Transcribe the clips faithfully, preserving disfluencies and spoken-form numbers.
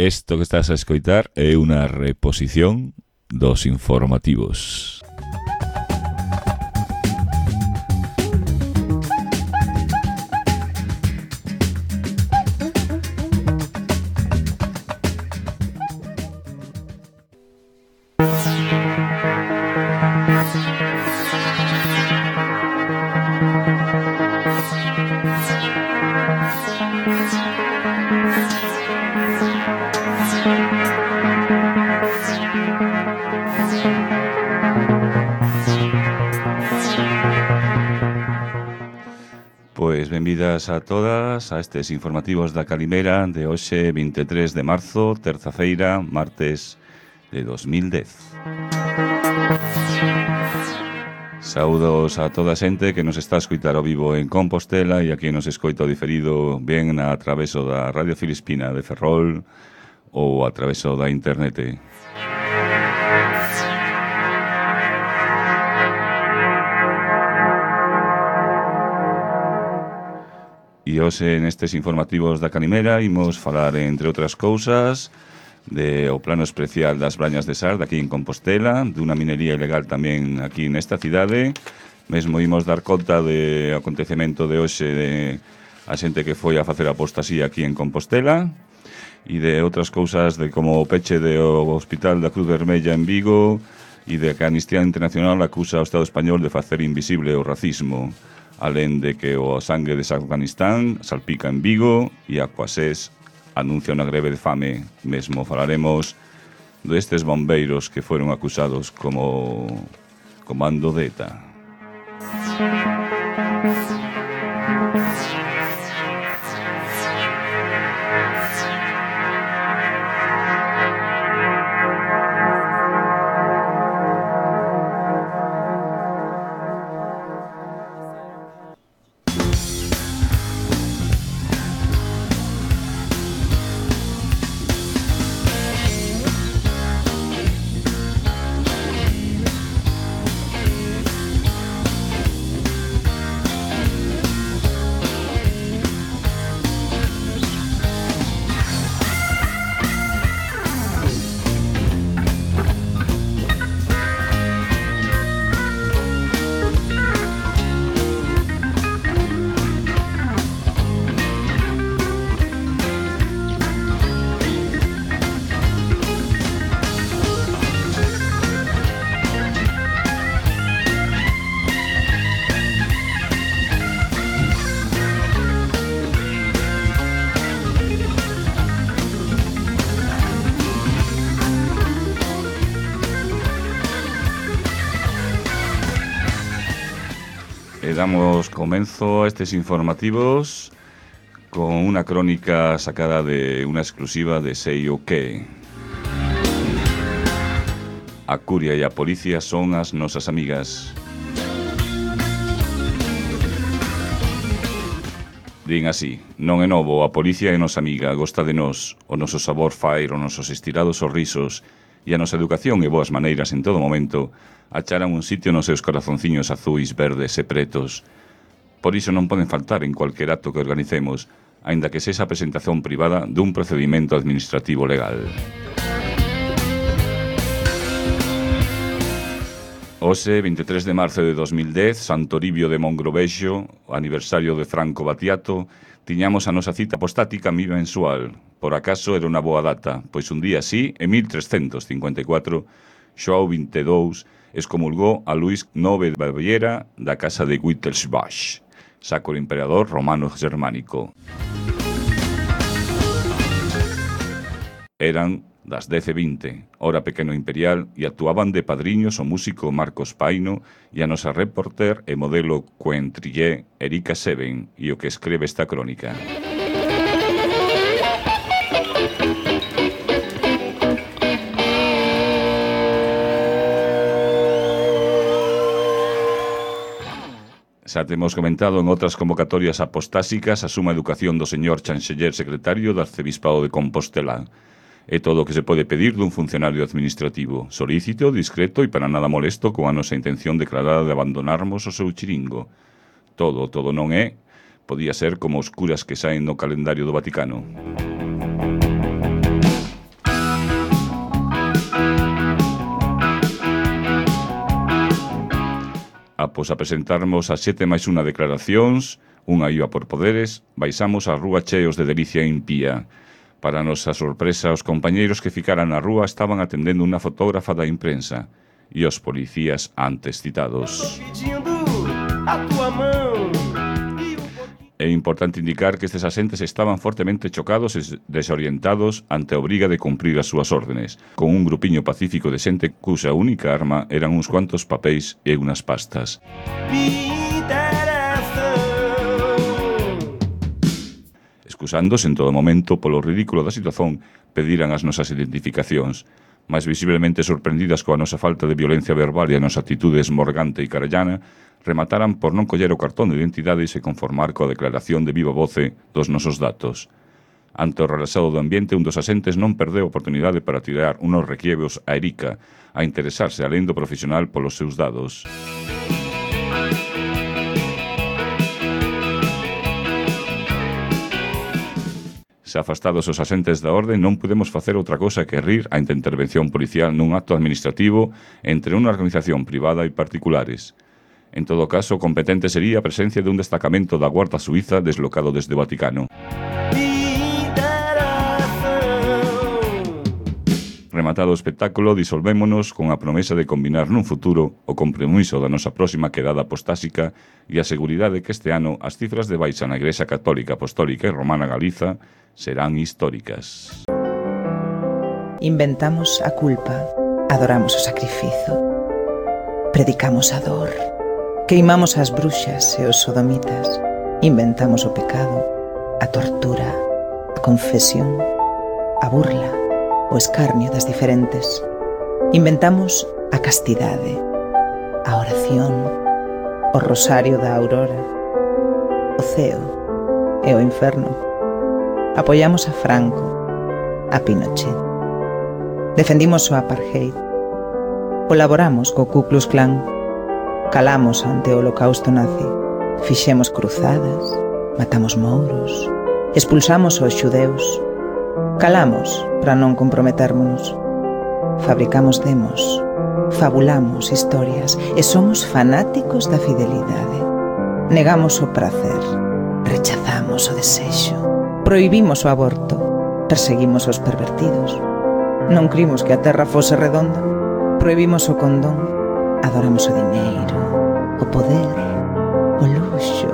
Isto que estás a escoitar é unha reposición dos informativos. Pois benvidas a todas a estes informativos da Calimera de hoxe, vinte e tres de marzo, terza-feira, martes de dos mil dez. Saúdos a toda a xente que nos está a escoitar ao vivo en Compostela e a quien nos escoita o diferido ben a traveso da Radio Filispina de Ferrol ou a traveso da internet. E hoxe nestes informativos da Calimera imos falar, entre outras cousas, de o plano especial das Brañas de Sar, aquí en Compostela, dunha minería ilegal tamén aquí nesta cidade. Mesmo imos dar conta de acontecemento de hoxe de a xente que foi a facer apostasía aquí en Compostela e de outras cousas de como o peche do Hospital da Cruz Vermella en Vigo e de que a Amnistía Internacional acusa ao Estado español de facer invisible o racismo, alén de que o sangue de Afganistán salpica en Vigo e Aquasés anuncia unha greve de fame. Mesmo falaremos destes bombeiros que foron acusados como comando de ETA. Damos comenzo a estes informativos con unha crónica sacada de unha exclusiva de Sei o Que. A curia e a policía son as nosas amigas. Din así: non é novo, a policía é nosa amiga, gosta de nós, o noso sabor fair, os nosos estirados sorrisos e a nosa educación e boas maneiras en todo momento acharan un sitio nos seus corazonciños azuis, verdes e pretos. Por iso non poden faltar en cualquier acto que organicemos, aínda que sexa a presentación privada dun procedimento administrativo legal. Hoxe, vinte e tres de marzo de dos mil dez, Santo Toribio de Mongrovexo, o aniversario de Franco Battiato, tiñamos a nosa cita apostática mensual. Por acaso era unha boa data, pois un día así, en mil trescentos cincuenta e catro, Xoao vinte e dous excomulgou a Luís nove de Baviera da casa de Wittelsbach, sacro emperador romano germánico. Eran das dez e vinte, hora pequeno imperial, e actuaban de padriños o músico Marcos Paino e a nosa reporter e modelo coentrillé Erika Seven e o que escribe esta crónica. Xa temos comentado en outras convocatorias apostásicas a suma educación do señor chanceller secretario do Arcebispado de Compostela. É todo o que se pode pedir dun funcionario administrativo, solícito, discreto e para nada molesto coa nosa intención declarada de abandonarmos o seu chiringo. Todo, todo non é, podía ser como os curas que saen no calendario do Vaticano. Após a presentarmos as sete máis unha declaracións, unha iba por poderes, baixamos a rúa cheos de delicia impía. Para a nosa sorpresa, os compañeiros que ficaran na rúa estaban atendendo unha fotógrafa da imprensa e os policías antes citados. É importante indicar que estes asentes estaban fortemente chocados e desorientados ante a obriga de cumprir as súas órdenes, con un grupiño pacífico de xente cuxa única arma eran uns cuantos papéis e unas pastas. Excusándose en todo momento polo ridículo da situación, pediran as nosas identificacións, máis visiblemente sorprendidas coa nosa falta de violencia verbal e a nosa actitude esmorgante e carallana, remataran por non coller o cartón de identidade e se conformar coa declaración de viva voce dos nosos datos. Ante o relaxado do ambiente, un dos asentes non perdeu a oportunidade para tirar unos requiebros a Erika, a interesarse alén do profesional polos seus dados. Se afastados os asentes da orde, non podemos facer outra cosa que rir ante a intervención policial nun acto administrativo entre unha organización privada e particulares. En todo caso, competente sería a presencia de un destacamento da Guarda Suiza deslocado desde o Vaticano. Rematado o espectáculo, disolvémonos con a promesa de combinar nun futuro o compromiso da nosa próxima quedada apostásica e a seguridade que este ano as cifras de baixa na Igrexa Católica, Apostólica e Romana Galiza serán históricas. Inventamos a culpa, adoramos o sacrificio, predicamos a dor, queimamos as bruxas e os sodomitas, inventamos o pecado, a tortura, a confesión, a burla, o escarnio das diferentes. Inventamos a castidade, a oración, o rosario da aurora, o ceo e o inferno. Apoiamos a Franco, a Pinochet. Defendimos o apartheid. Colaboramos co Ku Klux Klan. Calamos ante o holocausto nazi. Fixemos cruzadas, matamos mouros, expulsamos os xudeus. Calamos para non comprometérmonos. Fabricamos demos, fabulamos historias e somos fanáticos da fidelidade. Negamos o prazer, rechazamos o desexo, prohibimos o aborto, perseguimos os pervertidos. Non crimos que a terra fose redonda, prohibimos o condón, adoramos o diñeiro, o poder, o luxo,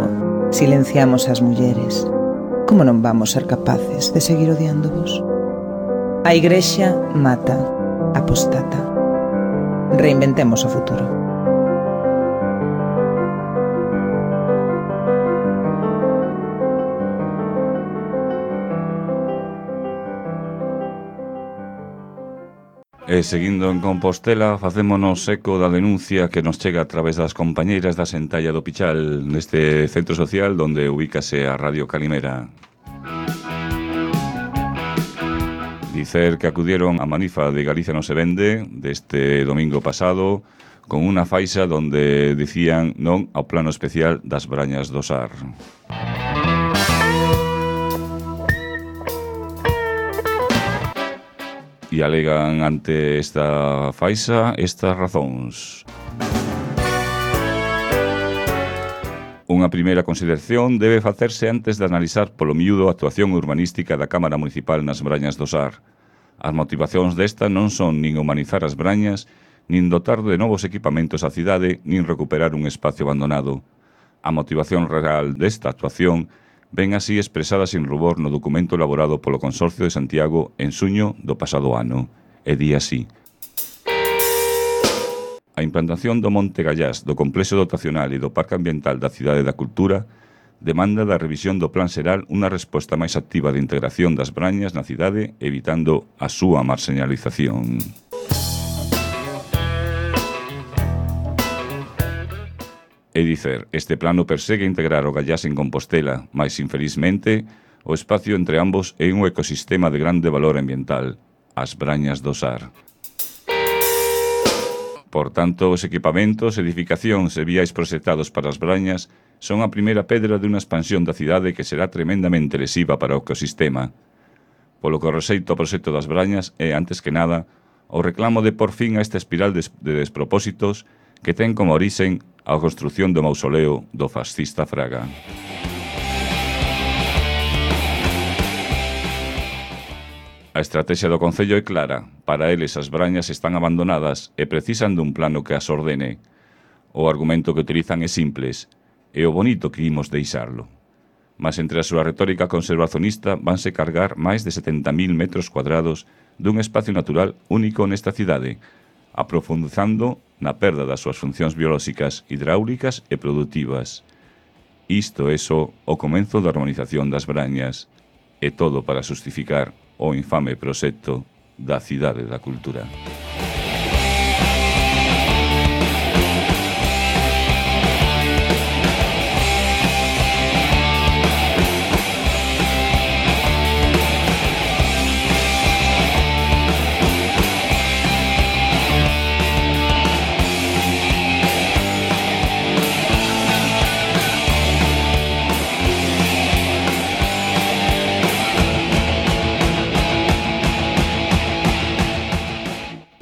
silenciamos as mulleres. Como non vamos ser capaces de seguir odiándovos? A Igrexa mata, apostata. Reinventemos o futuro. E seguindo en Compostela, facémonos eco da denuncia que nos chega a través das compañeiras da Sentalla do Pichal neste centro social donde ubícase a Radio Calimera. Dicer que acudieron a manifa de Galicia non se vende deste domingo pasado con unha faixa donde dicían non ao plano especial das Brañas do Sar. E alegan ante esta faixa estas razóns. Unha primeira consideración debe facerse antes de analizar polo miúdo a actuación urbanística da Cámara Municipal nas Brañas do Sar. As motivacións desta non son nin humanizar as Brañas, nin dotar de novos equipamentos á cidade, nin recuperar un espacio abandonado. A motivación real desta actuación ven así expresada sin rubor no documento elaborado polo Consorcio de Santiago en suño do pasado ano. E di así: a implantación do Monte Gallás, do Complexo Dotacional e do Parque Ambiental da Cidade da Cultura demanda da revisión do Plan Xeral unha resposta máis activa de integración das Brañas na cidade, evitando a súa marxinalización. É dicer, este plano persegue integrar o Gallás en Compostela, mas, infelizmente, o espacio entre ambos é un ecosistema de grande valor ambiental, as Brañas do Sar. Por tanto, os equipamentos, edificacións e viais proxectados para as Brañas son a primeira pedra de unha expansión da cidade que será tremendamente lesiva para o ecosistema. Polo que rexeito ao proxecto das Brañas é, antes que nada, o reclamo de por fin a esta espiral de despropósitos que ten como orixen a construción do mausoleo do fascista Fraga. A estrategia do Concello é clara. Para eles as brañas están abandonadas e precisan dun plano que as ordene. O argumento que utilizan é simples. É o bonito que imos deixarlo. Mas entre a súa retórica conservacionista vanse cargar máis de setenta mil metros cuadrados dun espacio natural único nesta cidade, aprofundizando na perda das súas funcións biolóxicas, hidráulicas e produtivas. Isto é só o comenzo da harmonización das brañas, e todo para justificar o infame proxecto da Cidade da Cultura.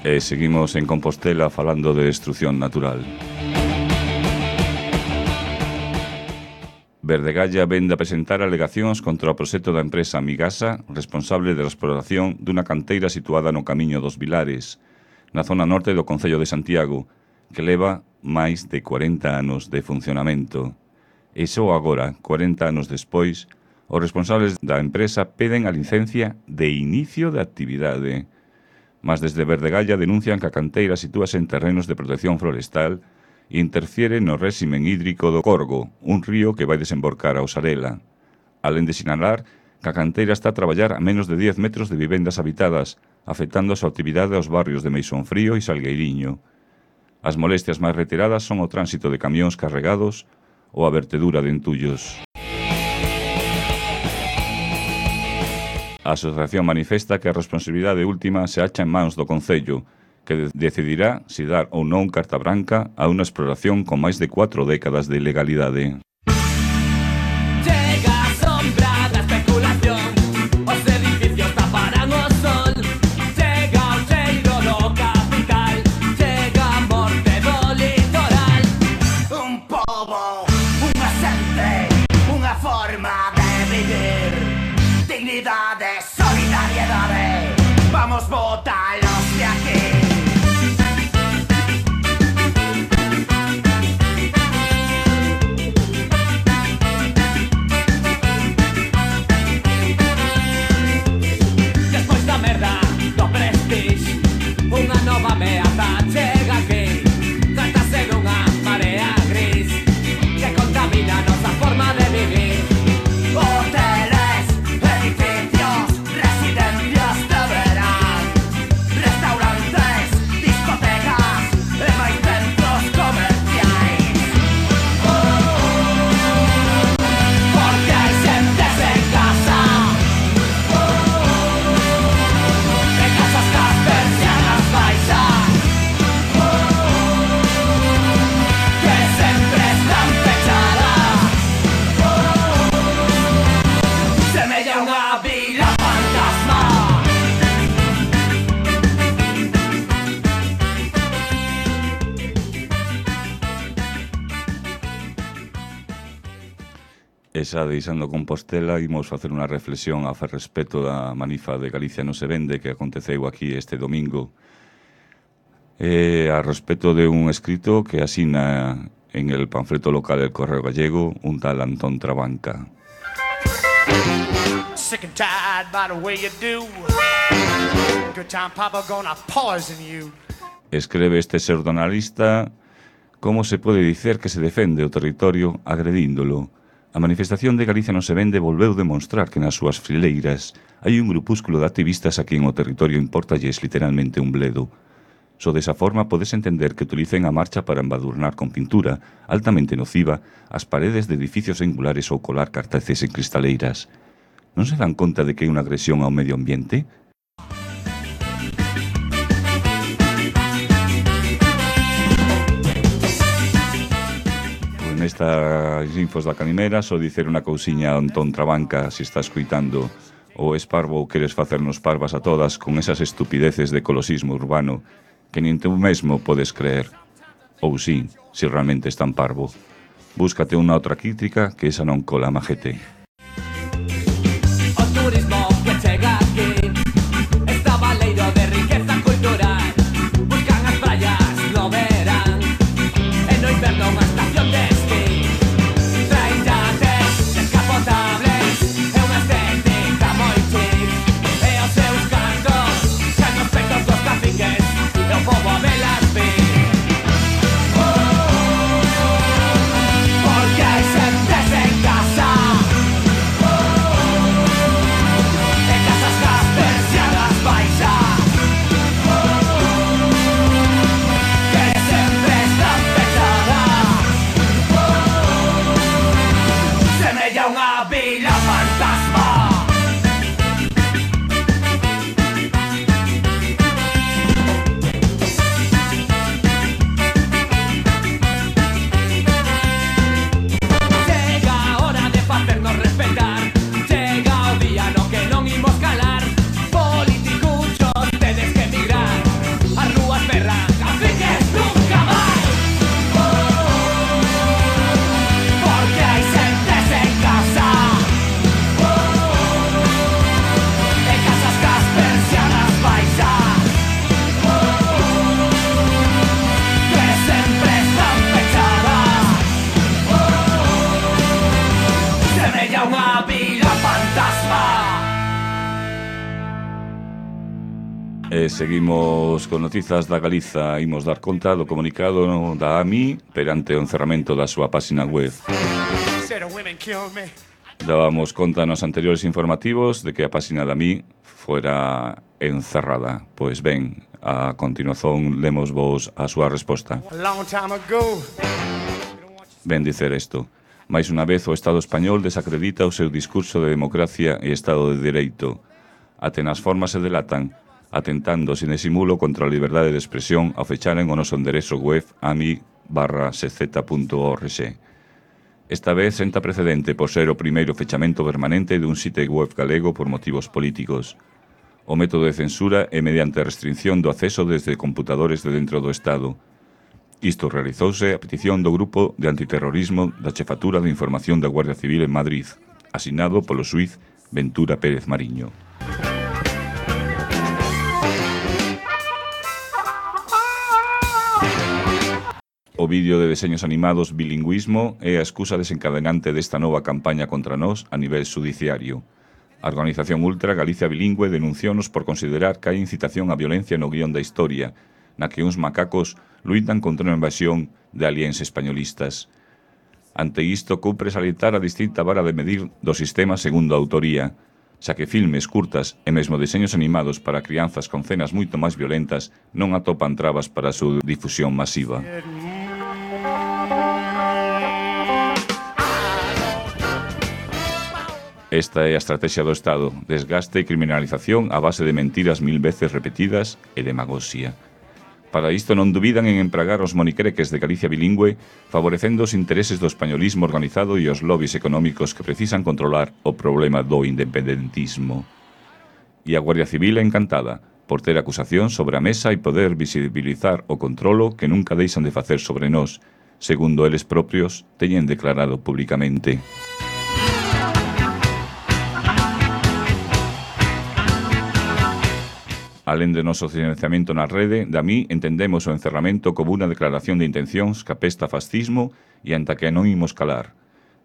E seguimos en Compostela falando de destrucción natural. Verdegalla vende a presentar alegacións contra o proxecto da empresa Migasa, responsable da exploración dunha canteira situada no Camiño dos Vilares, na zona norte do Concello de Santiago, que leva máis de cuarenta anos de funcionamento. E só agora, cuarenta anos despois, os responsables da empresa peden a licencia de inicio de actividade. Mas desde Verdegalla denuncian que a canteira sitúase en terrenos de protección florestal e interfiere no réximen hídrico do Corgo, un río que vai desemborcar a Osarela. Alén de sinalar que a canteira está a traballar a menos de dez metros de vivendas habitadas, afectando a súa actividade aos barrios de Meixonfrío e Salgueiriño. As molestias máis retiradas son o tránsito de camións carregados ou a vertedura de entullos. A asociación manifesta que a responsabilidade última se acha en mans do Concello, que decidirá se dar ou non carta branca a unha exploración con máis de cuatro décadas de ilegalidade. Chega a sombra da especulación, os edificios taparán o sol. Chega o cheiro do capital, chega a morte do litoral. Un pobo, unha xente, unha forma de vivir. Dignidade, solidariedade, vamos botalos de aquí. Despois da merda do Prestige, unha nova ameaza chega aquí. Trátase dunha marea gris que contamina a nosa forma de vivir. Hoteles, edificios, residencias de verán, restaurantes, discotecas e máis centros comerciais. Oh, porque hai xente sen casa, oh, e casas cas persianas baixas, oh, que sempre están pechadas. Semella unha vila fantasma. E xa deixando Compostela, imos facer unha reflexión a respecto da manifa de Galicia non se vende que aconteceu aquí este domingo. E a respecto de un escrito que asina en el panfleto local del Correo Gallego un tal Antón Trabanca. Sick and tired by the way you do. Good time papa gonna poison you. Escreve este pseudonalista como se pode dicer que se defende o territorio agredíndolo. A manifestación de Galicia non se vende volveu demonstrar que nas súas fileiras hai un grupúsculo de activistas a quen o territorio importalles literalmente un bledo. Só desa forma podes entender que utilicen a marcha para embadurnar con pintura, altamente nociva, as paredes de edificios singulares ou colar cartaces en cristaleiras. Non se dan conta de que é unha agresión ao medio ambiente? Pois nestas infos da Canimera só dicer unha cousiña a Antón Trabanca, se está escuitando o es parvo ou queres facernos parvas a todas con esas estupideces de ecoloxismo urbano que nin tú mesmo podes creer. ou sí, se realmente es tan parvo. Búscate unha outra crítica que esa non cola majete. O turismo que chega aquí está baleiro de riqueza cultural. Buscan as praias no verán e no inverno unha estación de esquí. Traen yates descapotables e unha estética moi chic. E os seus cantos xa nos peitos dos caciques e o pobo a velas vir. Porque hai xentes en casa e casas cas persianas baixas que sempre están pechadas. Semella unha vila fantasma. Chega a hora de facernos respetar. Chega o día no que non imos calar. Politicuchos tedes que emigrar. As rúas ferran, caciques nunca máis. Porque hai xentes en casa e casas cas persianas baixas que sempre están pechadas. Semella unha vila fantasma. E seguimos con noticias da Galiza. Imos dar conta do comunicado da A M I perante o encerramento da súa páxina web. Say the women kill me. Dábamos conta nos anteriores informativos de que a páxina da A M I fuera encerrada. Pois ben, a continuación lemos vos a súa resposta. A long time ago. Ben dicer isto. Mais unha vez o Estado español desacredita o seu discurso de democracia e Estado de Dereito. Até nas formas se delatan, atentando sin disimulo contra a liberdade de expresión ao fecharen o noso enderezo web ami barra sez punto org. Esta vez senta precedente por ser o primeiro fechamento permanente dun site web galego por motivos políticos. O método de censura é mediante a restricción do acceso desde computadores de dentro do Estado. Isto realizouse a petición do Grupo de Antiterrorismo da Chefatura de Información da Guardia Civil en Madrid, asignado polo xuíz Ventura Pérez Mariño. O vídeo de deseños animados Bilingüismo é a excusa desencadenante desta nova campaña contra nós a nivel judiciario. A organización Ultra Galicia Bilingüe denunciounos por considerar que hai incitación á violencia no guión da historia, na que uns macacos luitan contra unha invasión de aliens españolistas. Ante isto, cumpre salientar a distinta vara de medir do sistema segundo a autoría, xa que filmes, curtas e mesmo deseños animados para crianzas con cenas moito máis violentas non atopan trabas para a súa difusión masiva. Esta é a estrategia do Estado, desgaste e criminalización a base de mentiras mil veces repetidas e demagoxia. Para isto non dubidan en empragar os monicreques de Galicia bilingüe, favorecendo os intereses do españolismo organizado e os lobbies económicos que precisan controlar o problema do independentismo. E a Guardia Civil é encantada por ter acusación sobre a mesa e poder visibilizar o controlo que nunca deixan de facer sobre nós, segundo eles propios teñen declarado públicamente. Alén de noso silenciamento na rede, da mí entendemos o encerramento como unha declaración de intencións que apesta fascismo e ante que non imos calar.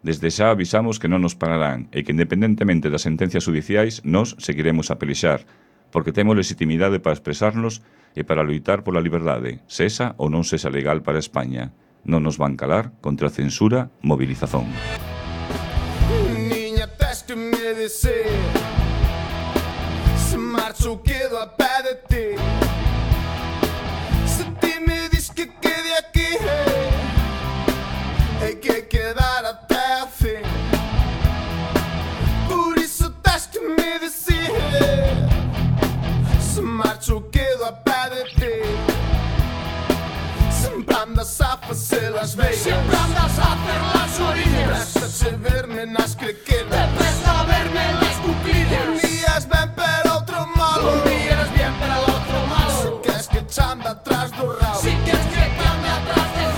Desde xa avisamos que non nos pararán e que independentemente das sentencias judiciais, nós seguiremos a pelexar, porque temos legitimidade para expresarnos e para luitar pola liberdade, sesa ou non sesa legal para España. Non nos van calar contra a censura, movilización. Niña, tens que me dizer se marcho quedo a pé de ti. Se ti me dis que quede aquí, hai que quedar até a fin. Por iso tens que me dizer se marcho quedo a pé de ti. Sempre andas a facer las bellas, Siempre andas a hacer las orillas. presta-te verme nas Te crequetas. presta verme en las Un cuclillas. día es ben pero outro malo. Un día eres bien, pero el otro malo. Se queres que te anda atrás do rabo, Si quieres que te ande atrás del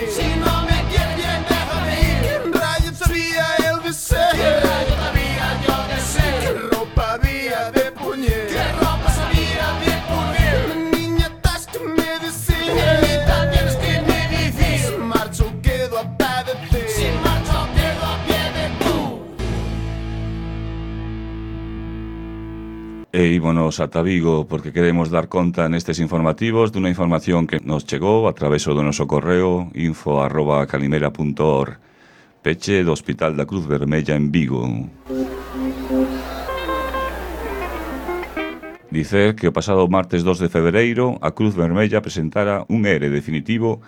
ir. Si no me quieres bien, déjame ir. ¿Quién rayos sabía el deseo? ¿Qué rayos sabía yo que sé? ¿Qué ropa había de puñer? ¿Qué ropa sabía de puñer? Niña, estás que me decís. Niñita, tienes que me decir. Si marcho, quedo a padecer. Si marcho, quedo a pie de tú. E ímonos ata Vigo porque queremos dar conta nestes informativos dunha información que nos chegou a través do noso correo info arroba calimera punto org. Peche do Hospital da Cruz Vermella en Vigo. Dicer que o pasado martes dos de febreiro a Cruz Vermella presentara un E R E definitivo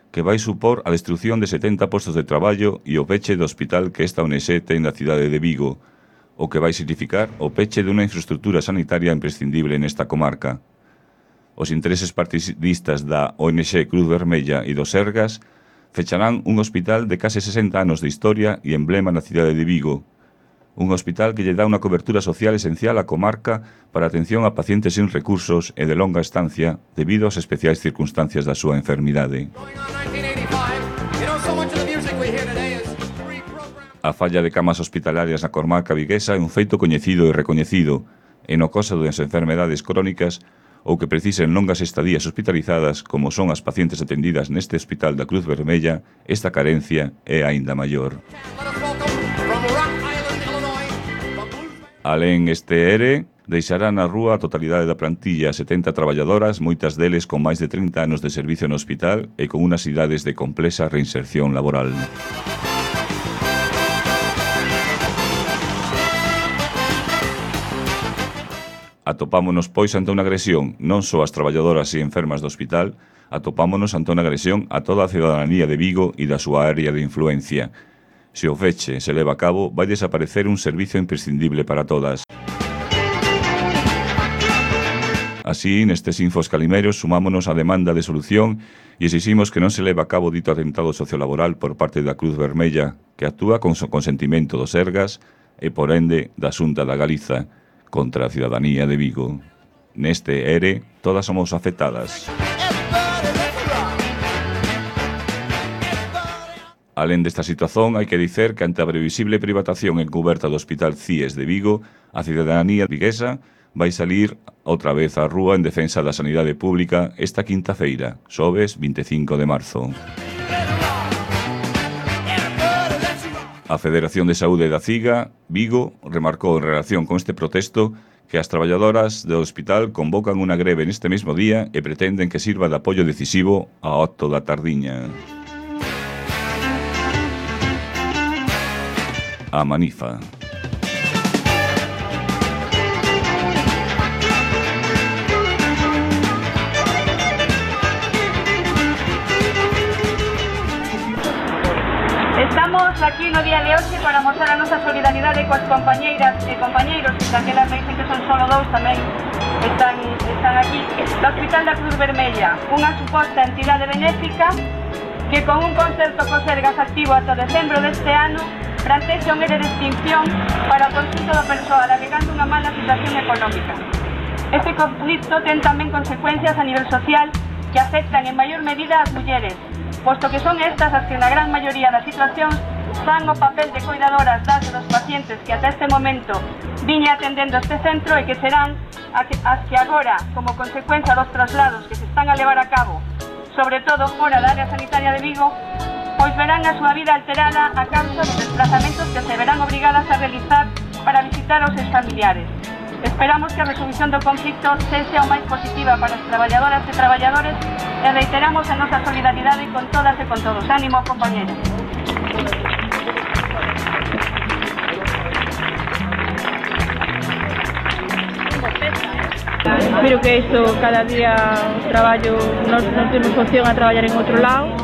que vai supor a destrucción de setenta postos de traballo e o peche do hospital que esta O N X ten na cidade de Vigo, o que vai significar o peche dunha infraestructura sanitaria imprescindible nesta comarca. Os intereses partidistas da O N X Cruz Vermella e dos Sergas fecharán un hospital de case sesenta anos de historia e emblema na cidade de Vigo. Un hospital que lle dá unha cobertura social esencial á comarca para a atención a pacientes sin recursos e de longa estancia debido ás especiais circunstancias da súa enfermidade. A falla de camas hospitalarias na comarca viguesa é un feito coñecido e recoñecido, e no caso das enfermedades crónicas ou que precisen longas estadías hospitalizadas, como son as pacientes atendidas neste hospital da Cruz Vermella, esta carencia é aínda maior. Alén este E R E, deixará na rúa a totalidade da plantilla, setenta traballadoras, moitas deles con máis de trinta anos de servicio no hospital e con unas idades de complexa reinserción laboral. Atopámonos, pois, ante unha agresión non só ás traballadoras e enfermas do hospital, atopámonos ante unha agresión a toda a cidadanía de Vigo e da súa área de influencia. Se o feche se leva a cabo, vai desaparecer un servicio imprescindible para todas. Así, nestes infos calimeros, sumámonos á demanda de solución e exiximos que non se leva a cabo dito atentado sociolaboral por parte da Cruz Vermella, que actúa con o consentimento dos Sergas e, por ende, da Xunta da Galiza, contra a cidadanía de Vigo. Neste E R E, todas somos afectadas. Alén desta situación, hai que dicer que ante a previsible privatización encuberta do Hospital C I E S de Vigo, a cidadanía viguesa vai salir outra vez á rúa en defensa da sanidade pública esta quinta feira, xoves vinte e cinco de marzo. A Federación de Saúde da CIGA, Vigo, remarcou en relación con este protesto que as traballadoras do hospital convocan unha greve neste mesmo día e pretenden que sirva de apoio decisivo ao acto da tardiña. A Manifa. Estamos aquí no día de hoxe para mostrar a nosa solidaridade coas compañeiras e compañeiros, daquelas me dicen que son solo dous tamén están, están aquí, do Hospital da Cruz Vermella, unha suposta entidade benéfica que con un concerto co Sergas activo ata decembro deste ano plantexa un E R E de extinción para o conxunto do persoal alegando unha mala situación económica. Este conflito ten tamén consecuencias a nivel social que afectan en maior medida ás mulleres, posto que son estas as que na gran maioría das situacións fan o papel de cuidadoras das dos pacientes que ata este momento viña atendendo este centro e que serán as que agora, como consecuencia dos traslados que se están a levar a cabo, sobre todo fora da área sanitaria de Vigo, pois verán a súa vida alterada a causa dos desplazamentos que se verán obrigadas a realizar para visitar aos seus familiares. Esperamos que a resolución do conflicto sexa o máis positiva para as traballadoras e traballadores e reiteramos a nosa solidaridade con todas e con todos. Ánimo, compañeros. Espero que isto cada día o traballo, nós non temos opción a traballar en outro lado.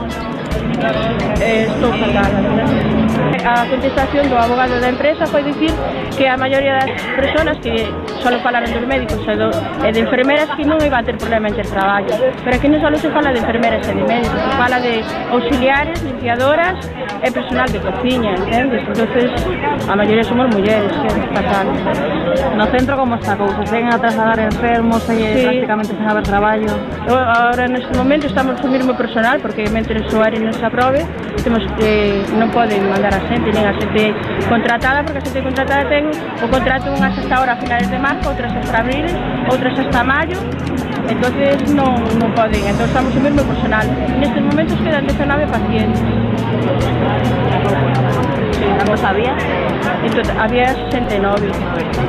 Eh, estou fatal, a verdade. A contestación do abogado da empresa foi dicir que a maioría das persoas que só falaron dos médicos e, do, e de enfermeras que non iban a ter problema en ter traballo, pero aquí non só se fala de enfermeras e de médicos, se fala de auxiliares, limpiadoras e personal de cociña, entendes? Entonces, a maioría somos mulleres, que é fatal. No centro como está a cousa? Ten a trasladar enfermos e sí. Prácticamente sen haber traballo? Ahora, neste momento, estamos co mesmo personal, porque mentre o área non se aprobe, temos que non poden mandar a xente, nin a xente contratada, porque a xente contratada ten o contrato unhas hasta ahora a finales de marzo, outras hasta abril, outras hasta maio, entonces non, non poden, entón estamos o mesmo personal. Nestes momentos quedan diecinueve pacientes. Cantos había? Entón, había sesenta e nove.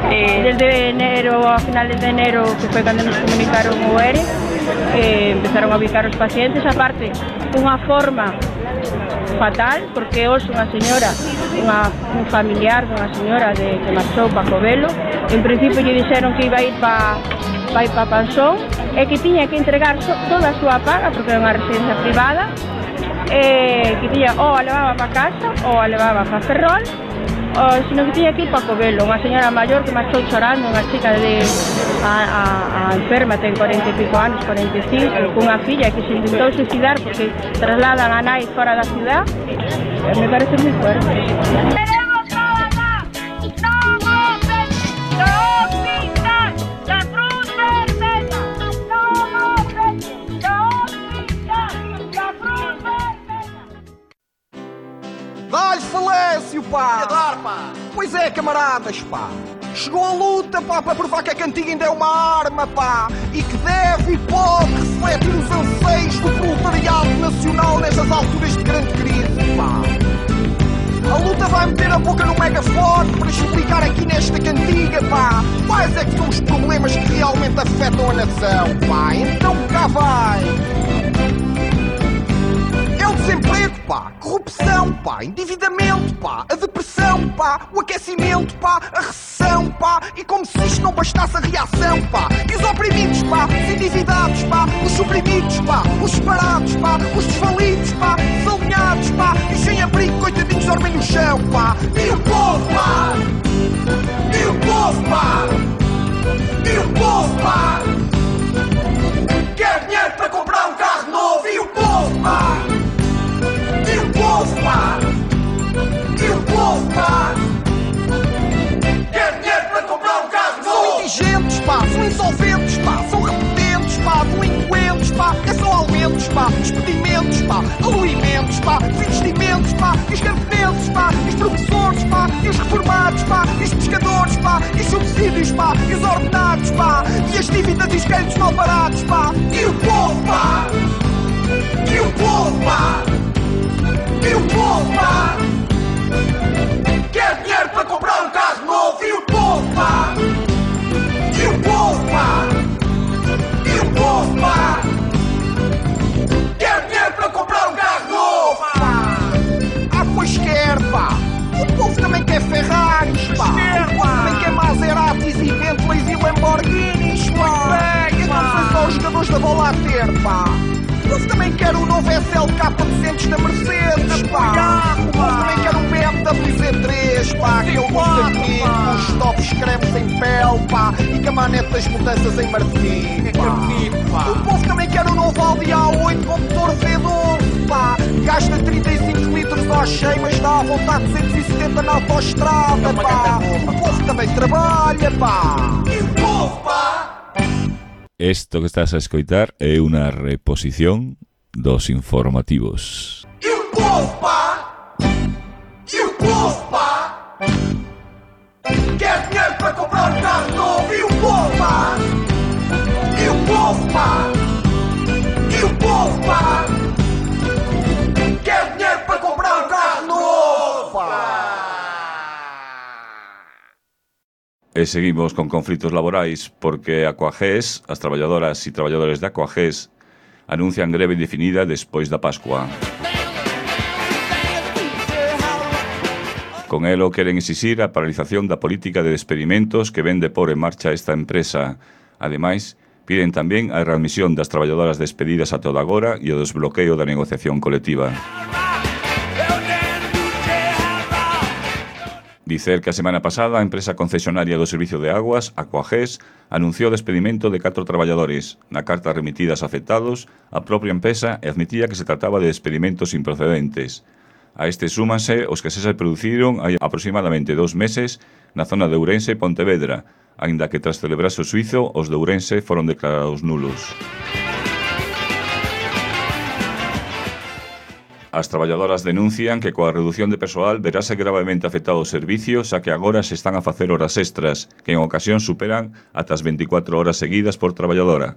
Eh, desde enero, a finales de enero, que foi cando nos comunicaron o E R E, eh, empezaron a ubicar os pacientes, aparte, unha forma fatal, porque hoxe unha señora, unha, un familiar dunha señora de, que marchou para Covelo, en principio lle dixeron que iba a ir para pa ir para Pansón e que tiña que entregar so, toda a súa paga, porque é unha residencia privada, e que tiña ou a levaba para casa ou a levaba para Ferrol, ou sino que tiña que ir para Covelo, unha señora maior que marchou chorando, unha chica de a, a, a enferma, ten cuarenta e pico anos, cuarenta e cinco, cunha filla que se intentou suicidar porque trasladan a nai fora da ciudad. Me parece moi fuerte. ¡Queremos trabajar! ¡No voten! ¡No pintan! ¡La Cruz Vermella! ¡No voten! ¡No pintan! ¡La Cruz Vermella! Dá-lhe falêncio, pá! E dar, pá! Pois é, camaradas, pá! Chegou a luta, pá, para provar que a cantiga ainda é uma arma, pá! E que deve e pode refletir os anseios do proletariado nacional nestas alturas de grande crise, pá! A luta vai meter a boca no megafone para explicar aqui nesta cantiga, pá! Quais é que são os problemas que realmente afetam a nação, pá? Então cá vai! É o desemprego, pá, corrupção, pá, endividamento, pá, a depressão, pá, o aquecimento, pá, a recessão, pá, e como se isto não bastasse a reação, pá, e os oprimidos, pá, os endividados, pá, os suprimidos, pá, os separados, pá, os desvalidos, pá, desalinhados, pá, e sem abrigo, coitadinhos dormem no chão, pá, e o povo, pá, e o povo, pá, e o povo, pá, quer dinheiro para comprar um carro novo, e o povo, pá, e o povo, pá, e o povo, pá, quer dinheiro para comprar um carro novo. São indigentes, pá, são insolventes, pá, são repetentes, pá, delinquentes, pá, é só aumentos, pá, despedimentos, pá, aluimentos, pá, investimentos, pá, e os camponeses, pá, e os professores, pá, e os reformados, pá, e os pescadores, pá, e os subsídios, pá, e os ordenados, pá, e as dívidas e os créditos mal parados, pá, e o povo, pá, e o povo, pá, e o povo, pá, quer dinheiro para comprar um carro novo, e o povo, pá, e o povo, pá, e o povo, pá, quer dinheiro para comprar um carro novo, pá. Ah, pois quer, pá. O povo também quer Ferraris, pá. O povo também quer Maseratis e Bentleys e Lamborghinis, pá. E não são só os jogadores da bola a ter, pá. O povo também quer o novo S L K duzentos da Mercedes, pá. O povo também quer o B M W Z três, pá. Aquele muito bonito, com os tops cremes em pele, pá. E com a manete das mudanças em marfim, pá. O povo também quer o novo Audi A oito com motor V doze, pá. Gasta trinta e cinco litros ao cheio, mas dá à vontade duzentos e setenta na autoestrada, pá. O povo também trabalha, pá. E o povo, pá. Esto que estás a escoitar é unha reposición dos informativos. E o povo, pá! E o povo, pá! Quer dinheiro para comprar um carro novo, e o povo, pá! E o povo, pá! E o povo, pá! Quer dinheiro para comprar um carro novo, pá! E seguimos con conflitos laborais porque a Coagés, as traballadoras e traballadores da Coagés anuncian greve indefinida despois da Pascua. Con elo queren exixir a paralización da política de despedimentos que ven de por en marcha esta empresa. Ademais, piden tamén a readmisión das traballadoras despedidas a toda agora e o desbloqueo da negociación colectiva. Dicer que a semana pasada a empresa concesionaria do Servicio de Aguas, Aquagés, anunciou o despedimento de catro traballadores. Na carta remitida aos afectados, a propia empresa admitía que se trataba de despedimentos improcedentes. A este súmanse os que se se produciron hai aproximadamente dous meses na zona de Ourense e Pontevedra, aínda que tras celebrarse o suizo, os de Ourense foron declarados nulos. As traballadoras denuncian que coa reducción de persoal verase gravemente afectado o servicio, xa que agora se están a facer horas extras, que en ocasión superan ata as veinticuatro horas seguidas por traballadora,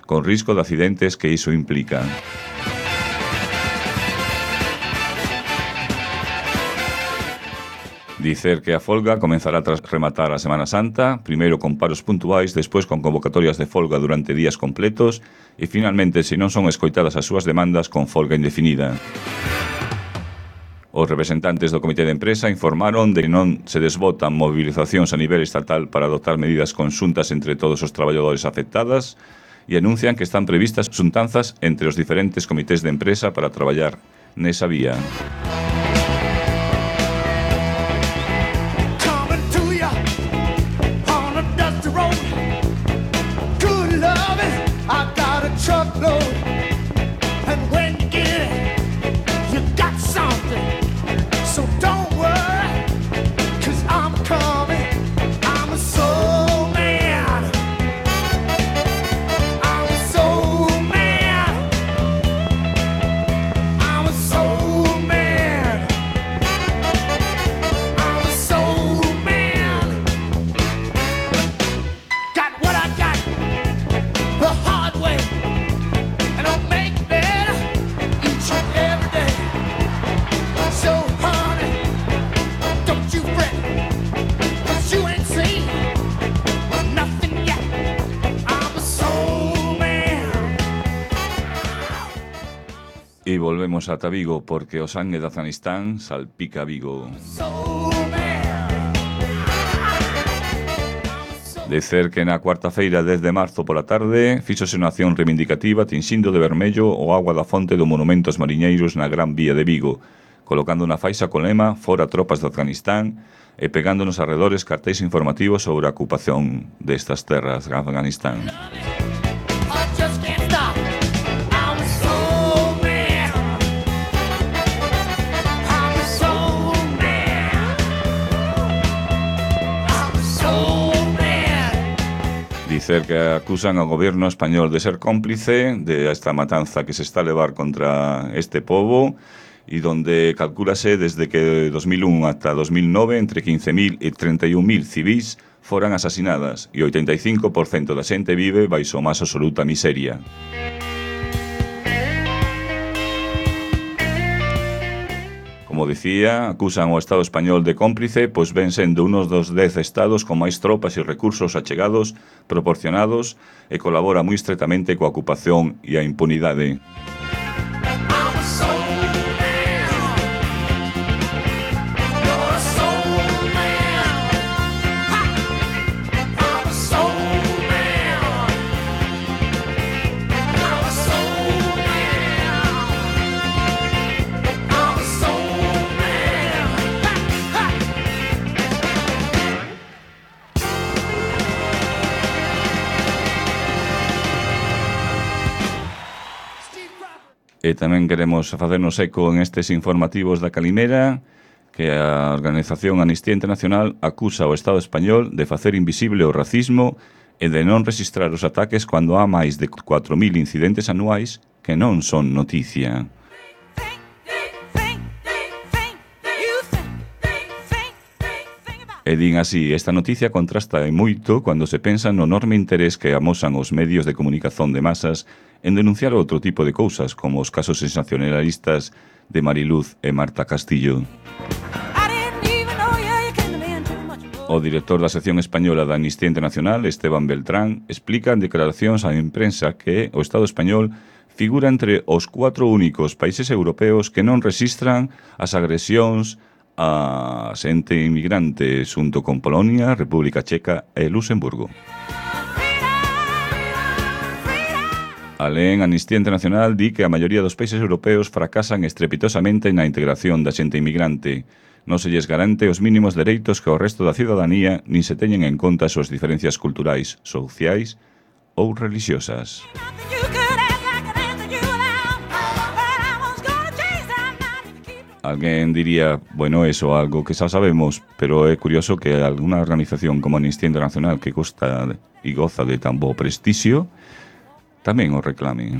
con risco de accidentes que iso implica. Dicer que a folga comenzará tras rematar a Semana Santa, primeiro con paros puntuais, despois con convocatorias de folga durante días completos e finalmente, se non son escoitadas as súas demandas, con folga indefinida. Os representantes do Comité de Empresa informaron de que non se desbotan movilizacións a nivel estatal para adoptar medidas conxuntas entre todos os traballadores afectadas e anuncian que están previstas xuntanzas entre os diferentes comités de empresa para traballar nesa vía. Truckload, and when you get it, you got something. So don't worry, cause I'm coming. I'm a soul man. I'm a soul man. I'm a soul man. I'm a soul man. Got what I got the hard way. E volvemos ata Vigo porque o sangue de Afganistán salpica Vigo. Dicer que na cuarta feira dez de marzo pola tarde fíxose unha acción reivindicativa tinxindo de vermello o agua da fonte do Monumento aos Mariñeiros na Gran Vía de Vigo, colocando unha faixa con lema "Fora tropas de Afganistán" e pegando nos arredores cartéis informativos sobre a ocupación destas terras de Afganistán. Dicer que acusan ao goberno español de ser cómplice de esta matanza que se está a levar contra este pobo e donde calcúlase desde que dos mil un ata dos mil nove entre quince mil e treinta e un mil civís foran asasinadas e oitenta e cinco por cento da xente vive baixo a máis absoluta miseria. Como dicía, acusan ao Estado español de cómplice, pois ven sendo unos dos dez estados con máis tropas e recursos achegados, proporcionados, e colabora moi estretamente coa ocupación e a impunidade. E tamén queremos facernos eco en estes informativos da Calimera que a organización Amnistía Internacional acusa ao Estado español de facer invisible o racismo e de non rexistrar os ataques cando há máis de cuatro mil incidentes anuais que non son noticia. E din así, esta noticia contrasta moito cando se pensa no enorme interés que amosan os medios de comunicación de masas en denunciar outro tipo de cousas, como os casos sensacionalistas de Mariluz e Marta Castillo. O director da sección española da Amnistía Internacional, Esteban Beltrán, explica en declaracións á imprensa que o Estado español figura entre os cuatro únicos países europeos que non rexistran as agresións a xente inmigrante xunto con Polonia, República Checa e Luxemburgo. Alén, Amnistía Internacional di que a maioría dos países europeos fracasan estrepitosamente na integración da xente inmigrante. non se lles garante os mínimos dereitos que o resto da ciudadanía nin se teñen en conta as súas diferencias culturais, sociais ou religiosas. Alguén diría, bueno, eso algo que xa sabemos, pero é curioso que alguna organización como Amnistía Internacional que costa e goza de tan bo prestixio tamén o reclame.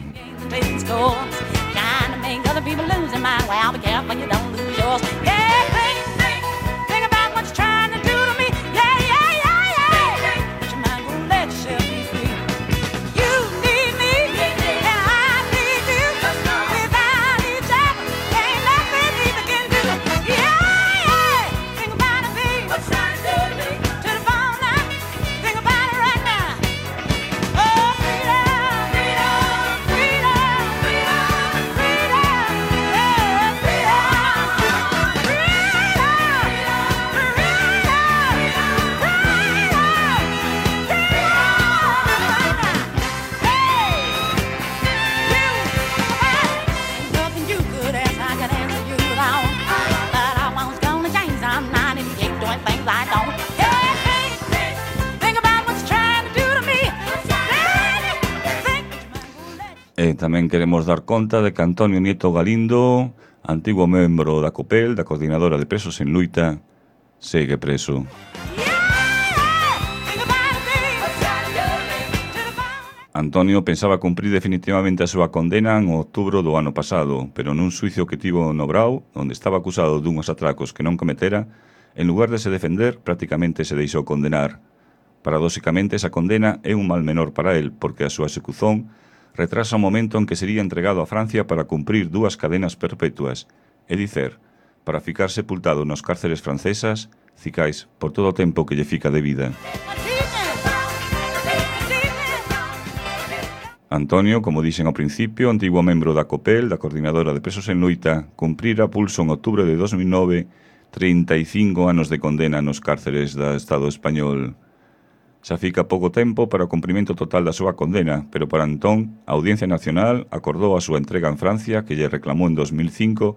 E tamén queremos dar conta de que Antonio Nieto Galindo, antigo membro da COPEL, da Coordinadora de Presos en Luita, segue preso. Antonio pensaba cumprir definitivamente a súa condena en outubro do ano pasado, pero nun suicio que tivo no Brau, onde estaba acusado dunhos atracos que non cometera, en lugar de se defender, prácticamente se deixou condenar. Paradóxicamente, esa condena é un mal menor para él, porque a súa execución retrasa o momento en que sería entregado a Francia para cumprir dúas cadenas perpetuas, é dicer, para ficar sepultado nos cárceres francesas, cicais, por todo o tempo que lle fica de vida. Antonio, como dixen ao principio, antigo membro da COPEL, da Coordinadora de Presos en Luita, cumprira pulso en outubro de dos mil nove trinta e cinco anos de condena nos cárceres do Estado español. Xa fica pouco tempo para o cumprimento total da súa condena, pero para entón, a Audiencia Nacional acordou a súa entrega en Francia, que lle reclamou en dos mil cinco,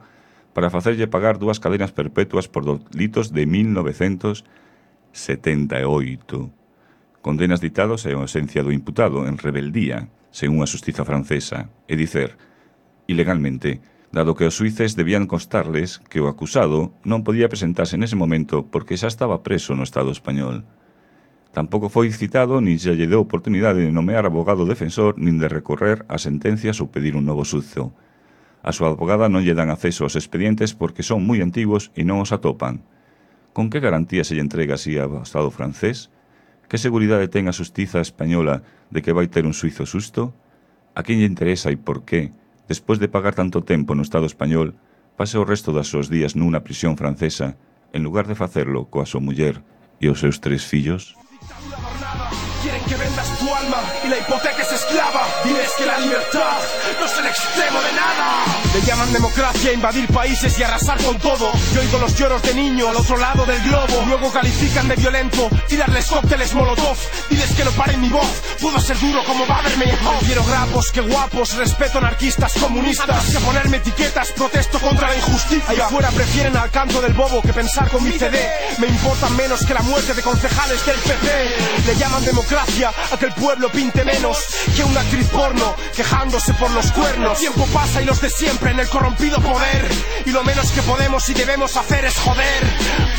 para facerlle pagar dúas cadenas perpetuas por delitos de mil novecentos setenta e oito. Condenas ditados en ausencia do imputado, en rebeldía, según a xustiza francesa, é dicer, ilegalmente, dado que os suíces debían constarles que o acusado non podía presentarse nese momento porque xa estaba preso no Estado español. Tampouco foi citado nin se lle deu oportunidade de nomear abogado defensor nin de recorrer a sentencias ou pedir un novo suzo. A súa abogada non lle dan acceso aos expedientes porque son moi antigos e non os atopan. Con que garantía se lle entrega así ao Estado francés? Que seguridade ten a xustiza española de que vai ter un suizo susto? A quen lle interesa e por qué, despois de pagar tanto tempo no Estado español, pase o resto das seus días nunha prisión francesa, en lugar de facerlo coa súa muller e os seus tres fillos? Quieren que vendas tu alma y la hipoteca es esclava. Diles que la libertad no es el extremo de nada. Le llaman democracia, invadir países y arrasar con todo. Yo oigo los lloros de niño al otro lado del globo. Luego califican de violento, tirarles cócteles molotov. Diles que no paren mi voz, puedo ser duro como Badermeyhoff. Quiero grapos, que guapos, respeto anarquistas, comunistas. Antes que ponerme etiquetas, protesto contra la injusticia. Allá afuera prefieren al canto del bobo que pensar con mi C D. Me importan menos que la muerte de concejales del P P. Le llaman democracia a que el pueblo pinte menos que una actriz porno quejándose por los cuernos. El tiempo pasa y los de siempre en el corrompido poder, y lo menos que podemos y debemos hacer es joder.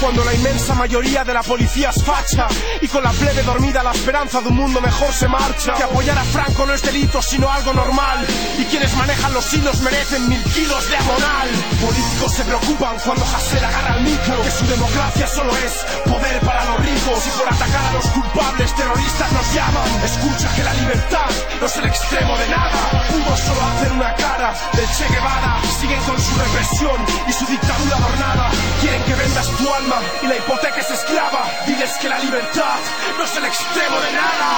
Cuando la inmensa mayoría de la policía es facha y con la plebe dormida la esperanza de un mundo mejor se marcha. Que apoyar a Franco no es delito sino algo normal, y quienes manejan los hilos merecen mil kilos de amonal. Políticos se preocupan cuando Hasél agarra el micro, que su democracia solo es poder para los ricos, y por atacar a los culpables terroristas nos llaman. Escucha que la libertad no es el extremo de nada. Pudo solo hacer una cara del Che Guevara. Siguen con su represión y su dictadura adornada. Quieren que vendas tu alma y la hipoteca es esclava. Diles que la libertad no es el extremo de nada.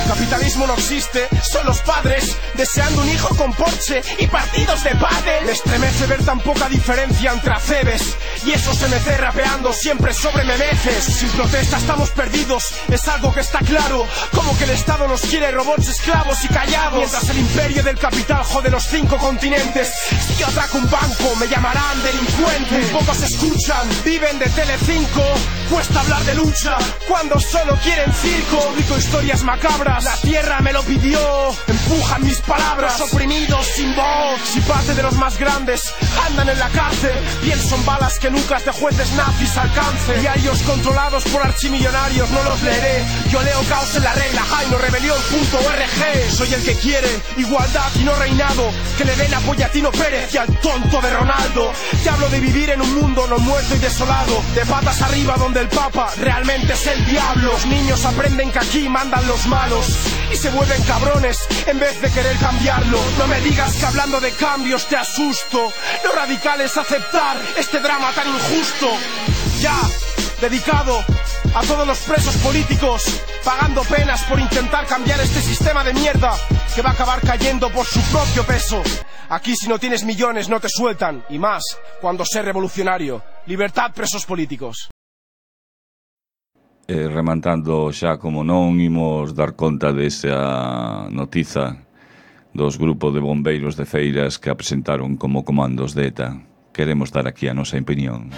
Capitalismo no existe, son los padres deseando un hijo con Porsche y partidos de pádel. Me estremece ver tan poca diferencia entre acebes y esos M C rapeando siempre sobre memeces. Sin protesta estamos perdidos, es algo que está claro. Como que el Estado nos quiere robots esclavos y callados, mientras el imperio del capital jode los cinco continentes. Si yo ataco un banco me llamarán delincuente. Muy poco se escucha luchan, viven de Telecinco. Cuesta hablar de lucha cuando solo quieren circo. Publico historias macabras, la tierra me lo pidió. Empujan mis palabras, oprimidos sin voz. Si parte de los más grandes andan en la cárcel, bien son balas que nucas de jueces nazis alcancen. Y a ellos controlados por archimillonarios no los leeré. Yo leo caos en la regla, jaino rebelión punto org. Soy el que quiere igualdad y no reinado, que le den apoyo a Tino Pérez y al tonto de Ronaldo. Te hablo de vivir en un mundo no muerto y desolado, de patas arriba donde el Papa realmente es el diablo. Los niños aprenden que aquí mandan los malos y se vuelven cabrones en vez de querer cambiarlo. No me digas que hablando de cambios te asusto. Lo radical es aceptar este drama tan injusto. Ya, dedicado a todos los presos políticos, pagando penas por intentar cambiar este sistema de mierda que va a acabar cayendo por su propio peso. Aquí si no tienes millones no te sueltan, y más cuando sé revolucionario. Libertad, presos políticos. Eh, remantando xa como non imos dar conta desa notiza dos grupos de bombeiros de Feiras que a presentaron como comandos de ETA. Queremos dar aquí a nosa opinión.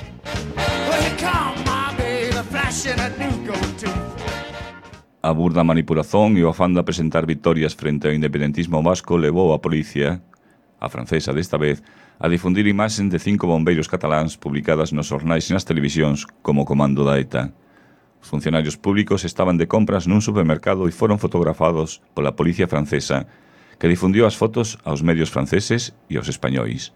A burda manipulación e o afán de presentar victorias frente ao independentismo vasco levou a policía, a francesa desta vez, a difundir imaxen de cinco bombeiros cataláns publicadas nos xornais e nas televisións como comando da ETA. Os funcionarios públicos estaban de compras nun supermercado e foron fotografados pola policía francesa, que difundiu as fotos aos medios franceses e aos españois.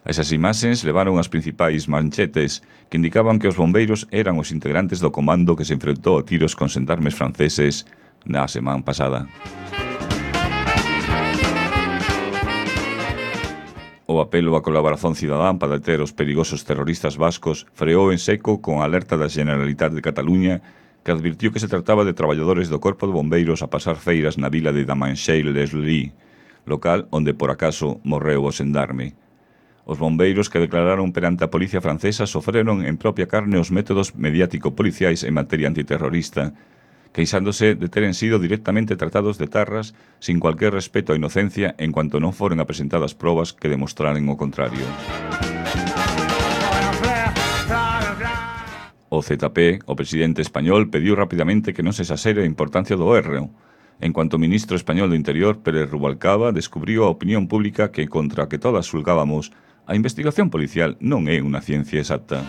Esas imaxens levaron as principais manchetes que indicaban que os bombeiros eran os integrantes do comando que se enfrentou a tiros con xendarmes franceses na semana pasada. O apelo á colaboración cidadán para deter os perigosos terroristas vascos freou en seco con a alerta da Generalitat de Cataluña, que advirtió que se trataba de traballadores do Corpo de Bombeiros a pasar feiras na vila de Damanxell-les-Lys, local onde por acaso morreu o xendarme. Os bombeiros que declararon perante a policía francesa sofreron en propia carne os métodos mediático-policiais en materia antiterrorista, queixándose de teren sido directamente tratados de tarras sin cualquier respeto á inocencia en cuanto non foren apresentadas probas que demostraren o contrario. O Z P, o presidente español, pediu rapidamente que non se exasere a importancia do erro, en cuanto o ministro español do Interior, Pérez Rubalcaba, descubriu a opinión pública que, contra a que todas xulgábamos, a investigación policial non é unha ciencia exacta.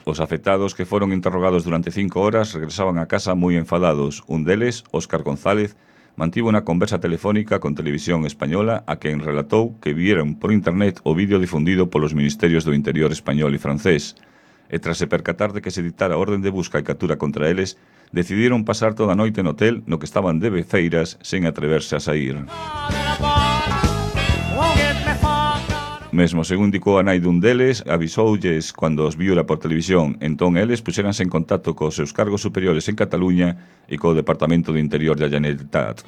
Os afectados que foron interrogados durante cinco horas regresaban a casa moi enfadados. Un deles, Óscar González, mantivo unha conversa telefónica con Televisión Española a quen relatou que vieron por internet o vídeo difundido polos Ministerios do Interior español e francés. E tras se percatar de que se dictara orden de busca e captura contra eles, decidiron pasar toda a noite no hotel no que estaban de feiras sen atreverse a sair. Mesmo, según indicou a nai dun deles, avisoulles cando os viura por televisión, entón eles puxéranse en contacto cos seus cargos superiores en Cataluña e co Departamento de Interior da Generalitat.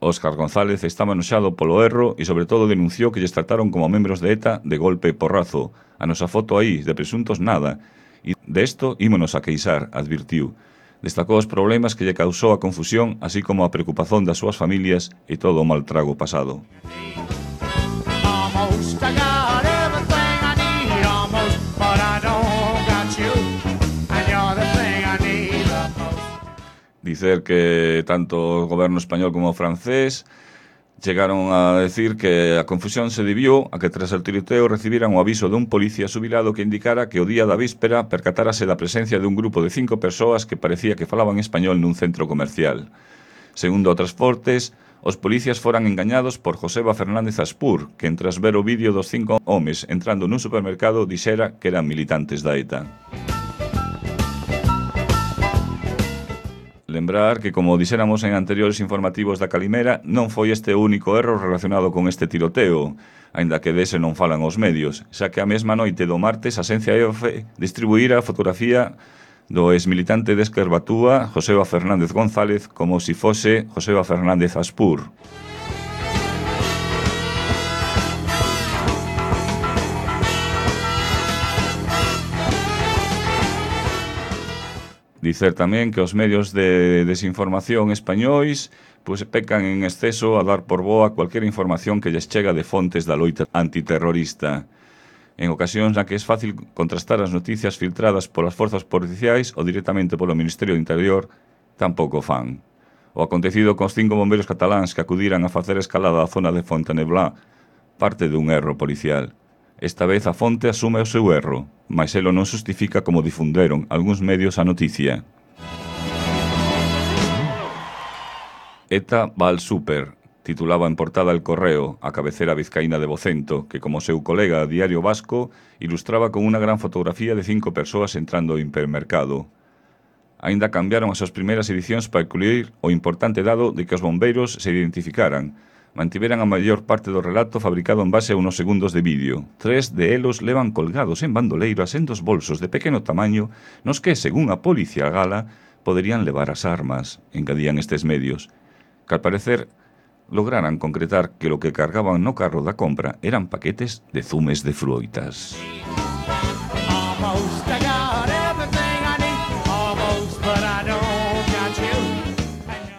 Óscar González estaba enoxado polo erro e sobre todo denunciou que lles trataron como membros de ETA de golpe e porrazo. A nosa foto aí, de presuntos nada. E desto ímonos a queixar, advirtiu. Destacou os problemas que lle causou a confusión, así como a preocupación das súas familias e todo o mal trago pasado. Dicer que tanto o goberno español como o francés chegaron a decir que a confusión se debió a que tras el tiroteo recibiran o aviso dun policía xubilado que indicara que o día da víspera percatárase da presencia de un grupo de cinco persoas que parecía que falaban español nun centro comercial. Segundo outras fontes, os policías foran engañados por Joseba Fernández Aspur, que tras ver o vídeo dos cinco homes entrando nun supermercado dixera que eran militantes da ETA. Lembrar que, como dixéramos en anteriores informativos da Calimera, non foi este o único erro relacionado con este tiroteo, aínda que dese non falan os medios, xa que a mesma noite do martes a Axencia EOFE distribuíra a fotografía do exmilitante de Esquerbatúa, Joseba Fernández González, como si fose Joseba Fernández Aspur. Dicer tamén que os medios de desinformación españois pois pecan en exceso a dar por boa cualquier información que lles chega de fontes da loita antiterrorista. En ocasións na que é fácil contrastar as noticias filtradas polas forzas policiais ou directamente polo Ministerio do Interior, tampouco fan. O acontecido cos cinco bombeiros cataláns que acudiran a facer escalada á zona de Fontaneblá parte dun erro policial. Esta vez a fonte asume o seu erro, mas elo non justifica como difunderon algúns medios a noticia. ETA va al súper, titulaba en portada El Correo, a cabecera vizcaína de Vocento, que como seu colega Diario Vasco, ilustraba con unha gran fotografía de cinco persoas entrando ao hipermercado. Aínda cambiaron as súas primeiras edicións para incluir o importante dado de que os bombeiros se identificaran, mantiveran a maior parte do relato fabricado en base a unos segundos de vídeo. Tres de elos levan colgados en bandoleiras en dos bolsos de pequeno tamaño nos que, según a policía gala, poderían levar as armas, engadían estes medios, que al parecer lograran concretar que lo que cargaban no carro da compra eran paquetes de zumes de froitas.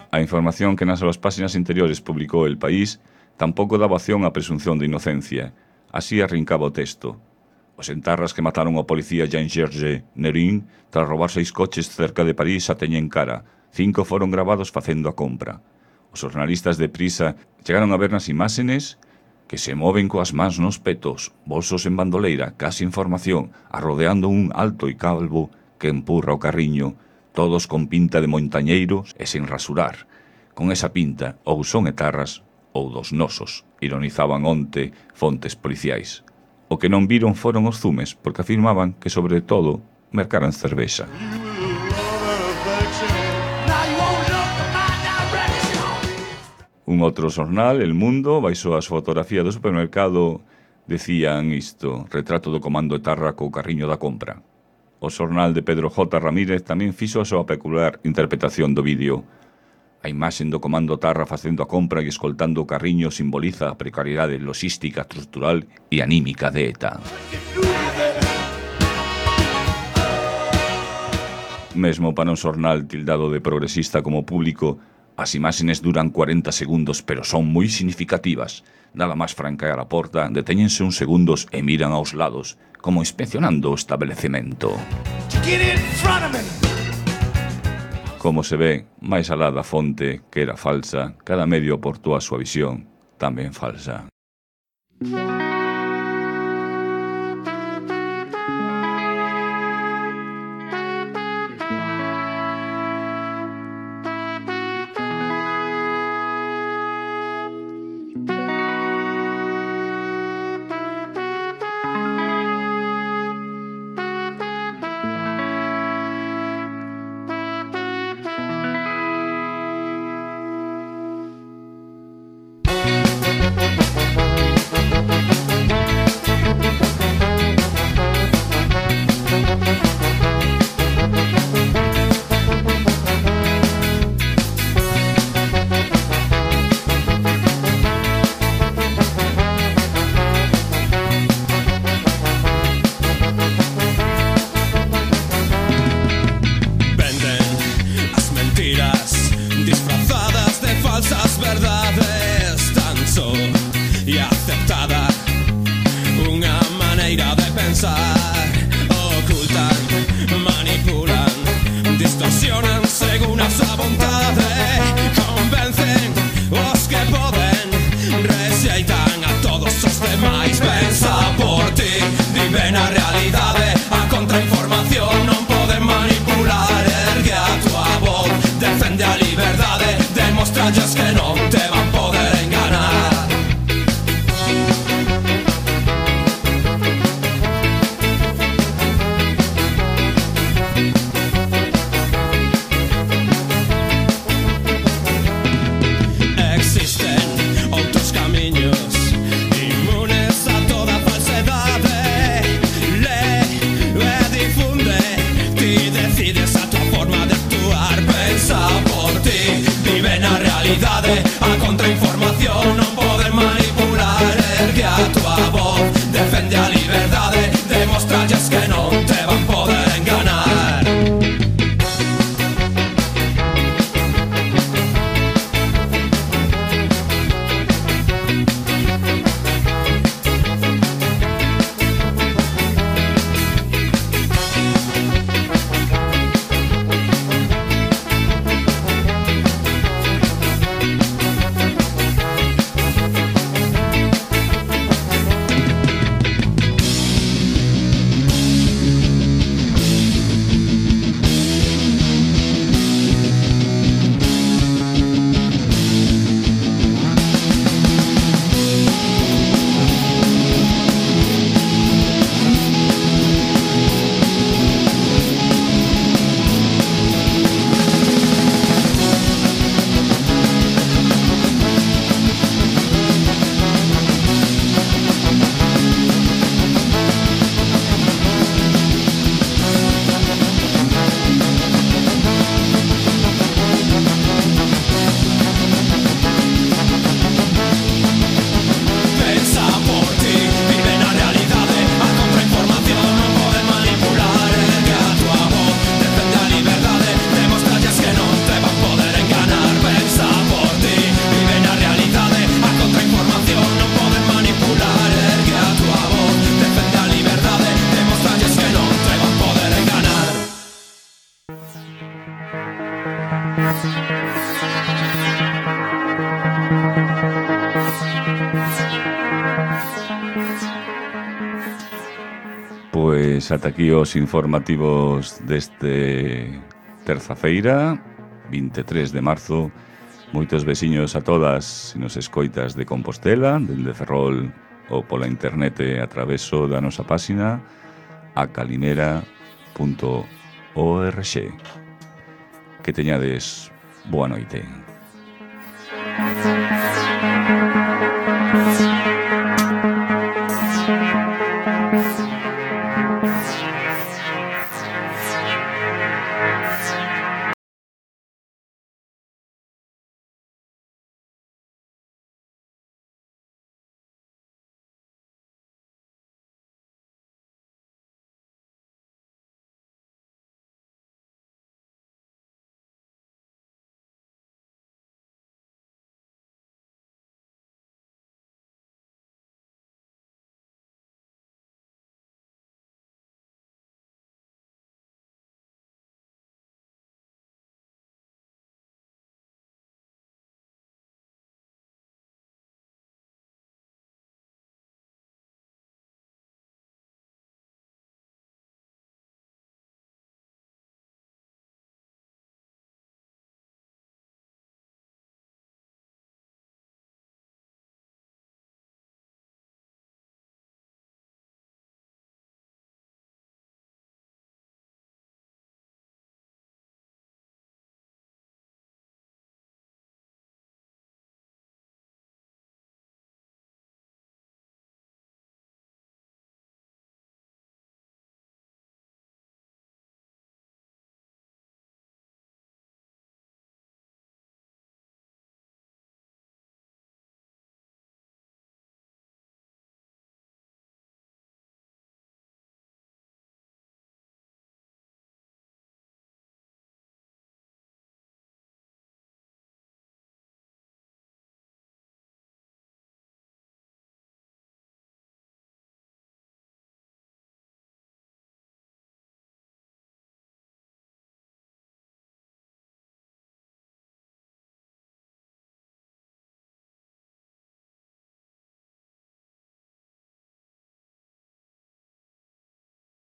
A información que nas súas páxinas interiores publicou El País tampouco daba opción á presunción de inocencia. Así arrincaba o texto. Os entarras que mataron ao policía Jean-Georges Nerin tras roubar seis coches cerca de París a teñen cara. Cinco foron gravados facendo a compra. Os jornalistas de Prisa chegaron a ver nas imágenes que se moven coas mans nos petos, bolsos en bandoleira, case información, arrodeando un alto e calvo que empurra o carriño, todos con pinta de montañeiros e sen rasurar. Con esa pinta, ou son etarras ou dos nosos, ironizaban onte fontes policiais. O que non viron foron os zumes, porque afirmaban que, sobre todo, mercaran cervexa. Un outro xornal, El Mundo, baixo as fotografías do supermercado, decían isto, retrato do comando etarra co carriño da compra. O xornal de Pedro J. Ramírez tamén fixo a súa peculiar interpretación do vídeo. A imaxen do comando etarra facendo a compra e escoltando o carriño simboliza a precariedade logística, estrutural e anímica de ETA. Mesmo para un xornal tildado de progresista como público, as imágenes duran cuarenta segundos, pero son moi significativas. Nada máis franquear a porta, detéñense uns segundos e miran aos lados, como inspeccionando o establecemento. Como se ve, máis alá da fonte, que era falsa, cada medio aportou a súa visión, tamén falsa. Pois ata aquí os informativos deste terza-feira, vinte e tres de marzo. Moitos veciños a todas, se nos escoitas de Compostela, dende Ferrol ou pola internet a traveso da nosa páxina a calimera punto org. Que teñades boa noite.